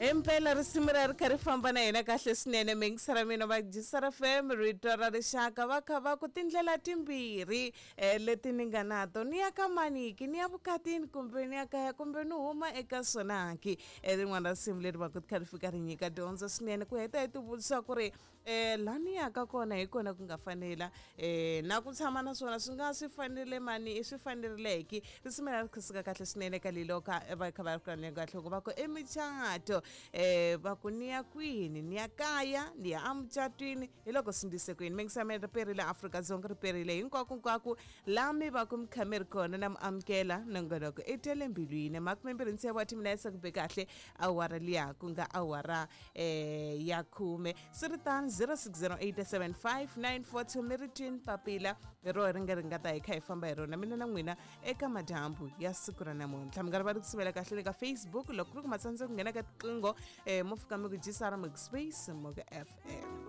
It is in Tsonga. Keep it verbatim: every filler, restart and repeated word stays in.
Impela risimu ra ri kha ri famba na hina kahle swinene. Mingisara mina va Jisara F M, rito ra rixaka, va kha va ku tindlela timbirhi eh, leti ni nga nato, ni ya ka maniki, ni ya vukatini kumbe ni ya kaya kumbe ni huma eka swonaki. Eh, rin'wana ra risimu leri va ku kha ri fika ri nyika dyondzo swinene, ku heta hi tivutisa ku ri eh, laha ni yaka kona hi kona ku nga fanela, eh, na ku tshama na swona swi nga swi fanele mani swi fanerileki. Risimu ra ri kusuka kahle swinene ka Liloka, va kha va ri ka nhloko va ku emicato, eh, va ku ni ya kwini, ni ya kaya, ni ya emucatwini, hi loko swi ndise kwini. Mingisame ri perile Afrika-Dzonga, ri perile hinkwako hinkwako laha mi va ku mi kha mi ri kona, na mi amukela nongonoko i tele mbilwini. Makume mbirhi tsevu wa timinetse ku be kahle awara liya ku nga awara eh, ya khume. Swi ri tano zero six zero eight seven five nine four two mi ri twini papila hi roho ri nga ri nga ta hi kha hi famba hi rona mina na n'wina eka madyambu ya siku ra namuntlha. Mi nga rivali ku sivela kahle le ka Facebook loko ku ri ku matsandza ku nghena ka tiqingho, eh, mo fika mi ku Jisara Mix Space mo ka F M.